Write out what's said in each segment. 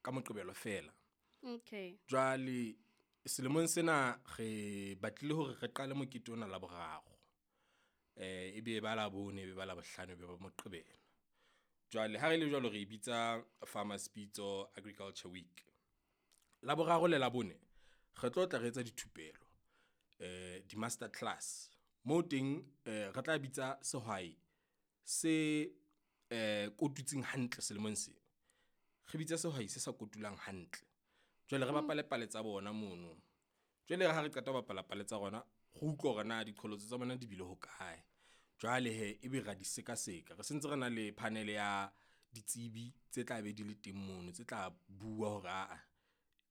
Ka Moqebelo feela. Okay. Jwale selemong sena re batlile hore re qale mokete ona Laboraro. E be ba Labone, e be ba Labohlano, e be ba Moqebelo. Jwale ha re le jwalo, re bitsa Farmer's Pitso Agriculture Week. Laboraro le Labone re tlo tla re etsa dithupelo di-master class moo teng re tla bitsa sehwai se kotutsing hantle selemong sena. Re bitse sehwai se sa kotulang hantle. Jwale re bapale pale tsa bona mono. Jwale ha re qeta ho bapala pale tsa rona, re utlwe hore na diqholotso tsa bona di bile hokae. Jwale hee ebe ra di sekaseka, re sentse re na le panel ya ditsebi tse tla be di le teng mono, tse tla bua hore aa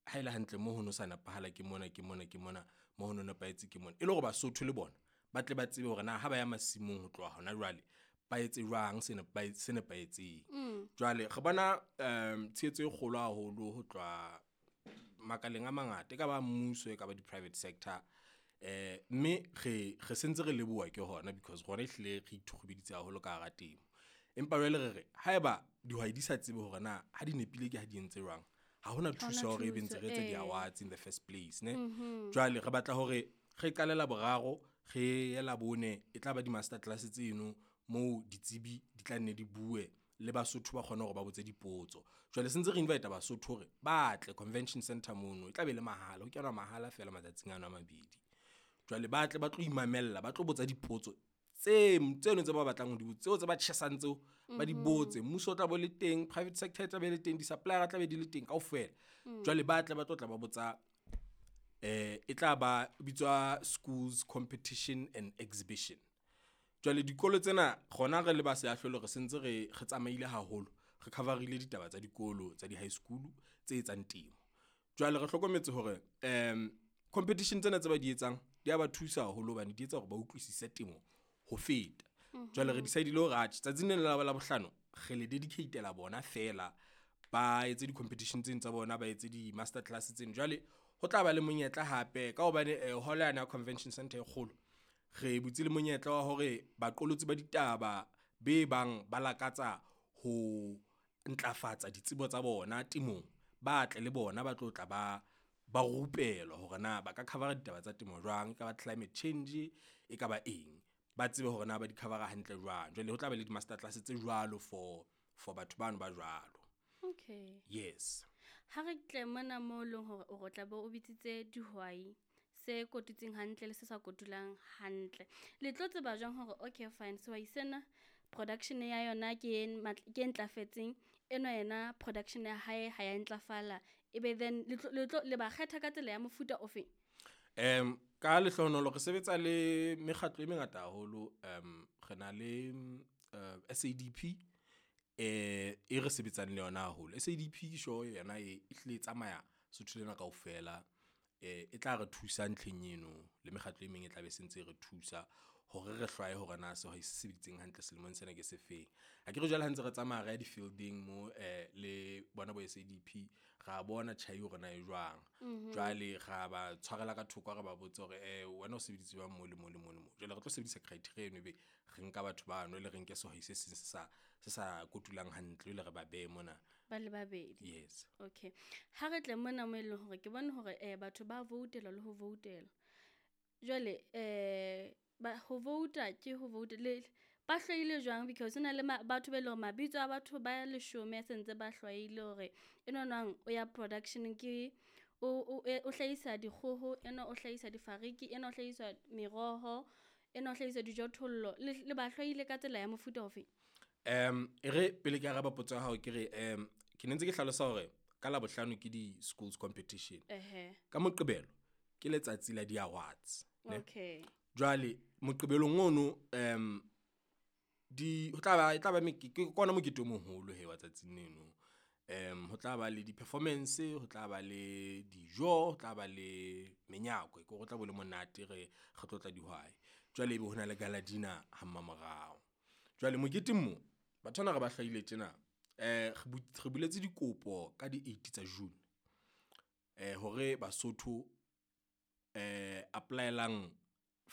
ha ele hantle mo ho no sa nepahala ke mona, ke mona, ke mona mo ho no nepahetse ke mona. E le hore Basotho le bona ba tle ba tsebe hore na ha ba ya masimong ho tloha hona jwale, ba etse jwang se se nepahetseng. Jwale re bona tshehetso e kgolo haholo ho tloha makaleng a mangata, e ka ba mmuso, e ka ba di-private sector. Mme re sentse re leboha ke hona because rona ehlile re ithukhubeditse haholo ka hara temo. Empa jwale re re haeba dihwai di sa tsebe hore na ha di nepile ke ha di entse jwang. Ha hona thuso ya hore ebe ntse re etsa di-awards in the first place ne. Jwale re batla hore re qale Laboraro, re ye Labone e tlaba di-master class tseno moo ditsebi di tla nne di bue le Basotho ba kgone hore ba botse dipotso. Jwale se ntse re invite Basotho hore ba tle convention center mono, e tla be le mahala ho kenwa mahala feela matsatsing ano a mabedi. Jwale ba tle ba tlo imamella, ba tlo botsa dipotso tse tseno tse ba batlang ho di botsa, tseo tse ba tjhesang tseo ba di botse. Mmuso o tla be o le teng, private sector e tla be le teng, di-supplier-a tla be di le teng kaofela. Jwale ba tle ba tlo tla ba botsa e tla ba bitswa schools competition and exhibition. Jwale dikolo tsena rona re le ba seahlolo re sentse re tsamaile haholo, re cover-ile ditaba tsa dikolo tsa di-high school tse etsang temo. Jwale re hlokometse hore competition tsena tse ba di etsang di ya ba thusa haholo hobane di etsa hore ba utlwisise temo ho feta. Jwale re decide-ile hore atjhe tsatsing lena la Labohlano re le dedicate-la bona feela, ba etse di-competition tseno tsa bona, ba etse di-master class tseno. Jwale ho tla ba le monyetla hape ka hobane hall yane ya convention center e kgolo. Re butse le monyetla wa hore baqolotsi ba ditaba be bang ba lakatsa ho ntlafatsa ditsebo tsa bona temong, ba tle le bona ba tlo tla ba ba rupelwa hore na ba ka cover-a ditaba tsa temo jwang. Ekaba climate change e kaba eng, ba tsebe hore na ba di cover-a hantle jwang. Jwale ho tla ba le di-master class tse jwalo for batho bano ba jwalo. Okay. Yes. Ha re tle mona mo leng hore o tla be o bitsitse dihwai se kotutseng hantle le se sa kotulang hantle. Le tlo tseba jwang hore okay fine sehwai sena production ya yona ke ke ntlafetseng, enwa yena production ya hae ha ya ntlafala. Ebe then le tlo le ba kgetha ka tsela ya mofuta o feng? Ka lehlohonolo re sebetsa le mekgatlo e mengata haholo. Re na le SADP e re sebetsang le yona haholo. SADP ke sure yona e hlile e tsamaya Sotho lena kaofela. E tla re thusa ntlheng eno le mekgatlo e meng e tla be sentse e re thusa hore re hlwaye hore na sehwai se sebeditseng hantle selemong sena ke se feng. Akere jwale ha ntse re tsamaya re ya di-fielding mo le bona bo SADP, ra bona tjhai hore na e jwang. Jwale ra ba tshwarela ka thoko, re ba botse hore wena o sebeditse jwang mo le mo le mo le mo. Jwale re tlo sebedisa criteria eno, ebe re nka batho bano le re nke sehwai se seng se sa kotulang hantle, jwale re ba behe mona. Ba le babedi. Yes. Okay. Ha re tle mona mo eleng hore ke bone hore batho ba voutela le ho voutela. Jwale ba ho vouta ke ho vouta le ba hlwaile jwang because hona le batho ba eleng hore mabitso a batho ba leshome a sentse ba hlwaile hore enwa nwang o ya production ke o hlahisa dikgoho, enwa o hlahisa difariki, enwa o hlahisa meroho, enwa o hlahisa dijothollo. Le ba hlwaile ka tsela ya mofuta ofe? E re pele ke araba potso ya hao, ke re ke ne ntse ke hlalosa hore ka Labohlano ke di-schools competition. Ka Moqebelo ke letsatsi la di-awards. Okay. Jwale Moqebelong ono di ho tla ba e tla ba ke kona mokete o moholo he wa tsatsing leno. Ho tla ba le di-performance, ho tla ba le dijo, ho tla ba le menyakwe, ke hore ho tla be ho le monate re re tlotla dihwai. Jwale ebe hona le gala dinner ha mmamorao. Jwale moketeng mo batho bana re ba hlwaile tjena, re buletse dikopo ka di eight tsa June, hore Basotho apply-elang.